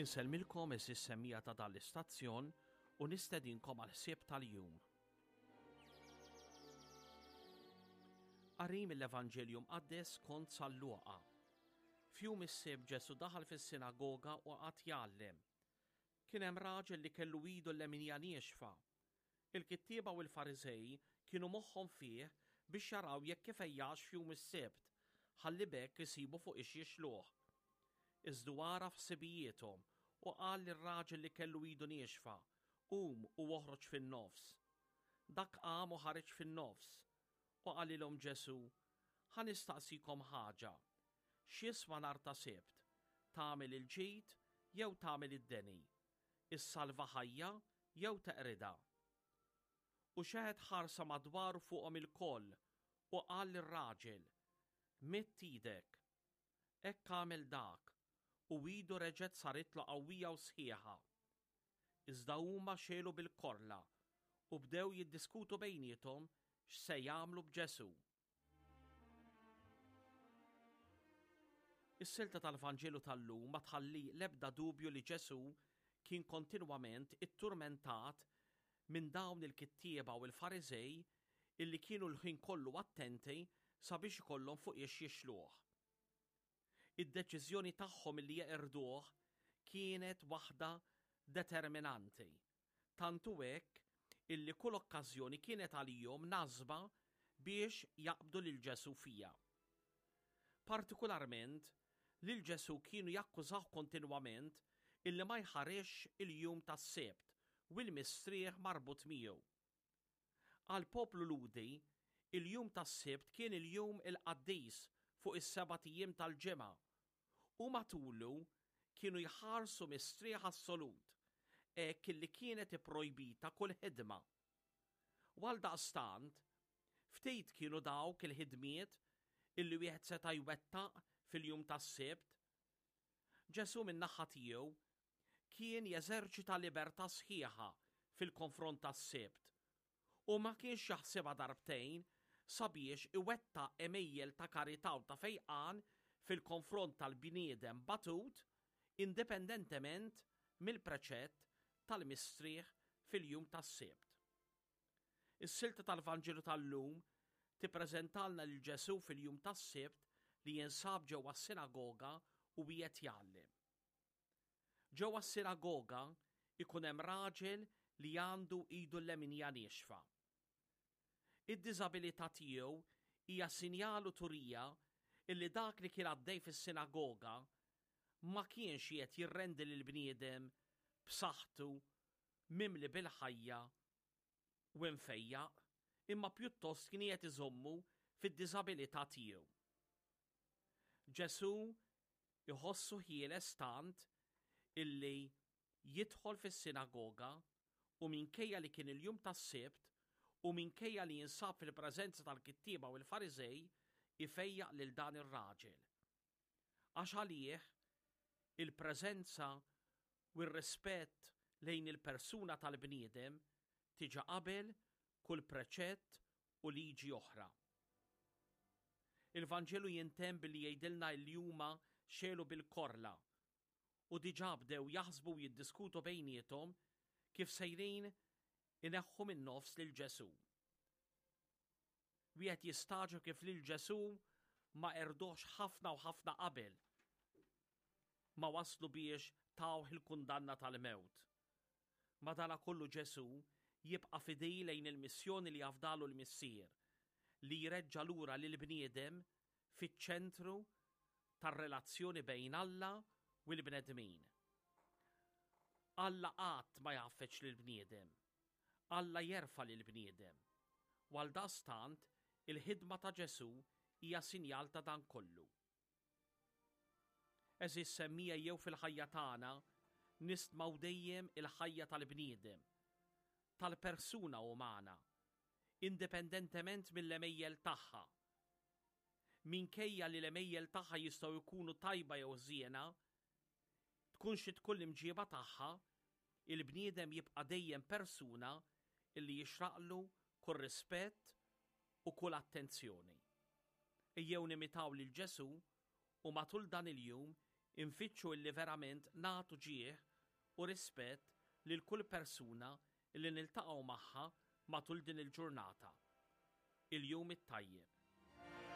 Insellmilkom eżis semmija ta' dan l-istazzjon u nistedinkom għal ħsieb tal-jum. Qari mill-Evanġelju Mqaddes kont San Luqa. F'jum is-Sibt Ġesù daħal fis-sinagoga u qagħad jgħallem. Kien hemm raġel li kellu idu l-leminija niexfa. Il-kittieba u l-Fariżej kienu moħħhom fih biex jaraw jekk ifejjaqx f'jum is-Sibt, ħalli b'hekk isibu fuq ix jixluh. Iżdu għaraf ħsibijiethom u qal lir-raġel li kellu idu niexfa, Qum u oħroġ fin-nofs. Dak qam u ħareġ fin-nofs. U qalilhom Ġesù, Ħa nistaqsikom ħaġa. X'jiswa nhar ta' Sibt, tagħmel il-ġid jew tagħmel id-deni? Issalva ħajja jew teqridha? U xeħet ħarsa madwaru fuqhom ilkoll u qal lir-raġel, Midd idek. Hekk għamel dak, u idu reġgħet saritlu qawwija u sħiħa. Iżda huma xegħlu bil-korla u bdew jiddiskutu bejniethom x'se jagħmlu b'Ġesù. Is-silta tal-Vanġelu tal-lum ma tħalli l-ebda dubju li Ġesù kien kontinwament itturmentat minn dawn il-kittieba u l-Fariżej illi kienu l-ħin kollu attenti sabiex ikollhom fuqiex jixluh. Id-deċiżjoni tagħhom illi jeqirduh kienet waħda determinanti. Tant hu hekk illi kull okkażjoni kienet għalihom nasba biex jaqbdu lil Ġesù fiha. Partikularment, lil Ġesù kienu jakkużawh kontinwament illi ma jħarisx il-jum tas-Sibt u l-mistrieħ marbut miegħu. Għall-poplu Lhudi, il-jum tas-Sibt kien il-jum il-qaddis fuq is-sebat ijiem tal-ġimgħa u matulu kienu jħarsu mistrieħ assolut, hekk illi kienet ipprojbita kull ħidma. U għaldaqstant, ftit kienu dawk il-ħidmiet illi wieħed seta' jwettaq fil-jum tas-Sibt. Ġesù min-naħa tiegħu kien jeżerċita libertà sħiħa fil-konfront tas-Sibt u ma kienx jaħsibha darbtejn sabiex iwettaq għemejjel ta' karità u ta' fejqan fil-konfront tal-bniedem batut indipendentement mill-preċett tal-mistrieħ fil-jum tas-Sibt. Is-silta tal-Vanġelu tal-lum tippreżentalna lil Ġesù fil-jum tas-Sibt li jinsab ġewwa s-sinagoga u qiegħed jgħallem. Ġewwa s-sinagoga jkun hemm raġel li għandu idu l-leminja niexfa. Id-diżabilità tiegħu hija sinjal u turija illi dak li kien għaddej fis-sinagoga ma kienx qiegħed jirrendi lill-bniedem b'saħħtu, mimli bil-ħajja u imfejjaq, imma pjuttost kien qiegħed iżommu fid-diżabilità tiegħu. Ġesù jħossu ħieles tant illi jidħol fis-sinagoga u minkejja li kien il-jum tas-Sibt u minkejja li jinsab fil-preżenza tal-kittieba u l-Fariżej ifejjaq lil dan ir-raġel. Għax għalih il-preżenza u r-rispett lejn il-persuna tal-bniedem tiġi qabel kull preċett u liġi oħra. Il-Vanġelu jintemm billi jgħidilna illi huma xegħlu bil-korla u diġà bdew jaħsbu u jiddiskutu bejniethom kif sejrin ineħħu min-nofs lil Ġesù. Wieħed jistagħġeb kif lil Ġesù ma qerduhx ħafna u ħafna qabel ma waslu biex tawh il-kundanna tal-mewt. Madanakollu Ġesù jibqa' fidil lejn il-missjoni li afdalu l-Missier, li jreġġa' lura lill-bniedem fiċ-ċentru tar-relazzjoni bejn Alla u l-bnedmin. Alla qatt ma jgħaffeġ lill-bniedem. Alla jerfa' lill-bniedem. U għaldaqstant, il-ħidma ta' Ġesù hija sinjal ta' dan kollu. Għeżież semmiegħa jew fil-ħajja tagħna nistmaw dejjem il-ħajja tal-bniedem, tal-persuna umana, indipendentement mill-għemejjel tagħha. Minkejja li l-għemejjel tagħha jistgħu jkunu tajba jew ħżiena, tkun xi tkun l-imġieba tagħha, il-bniedem jibqa' dejjem persuna illi jixraqlu kull rispett u kull attenzjoni. Ejjew nimitaw lil Ġesù u matul dan il-jum Infittxu illi verament nagħtu ġieħ u rispett lil kull persuna illi niltaqgħu magħha matul din il-ġurnata. Il-jum it-tajjeb.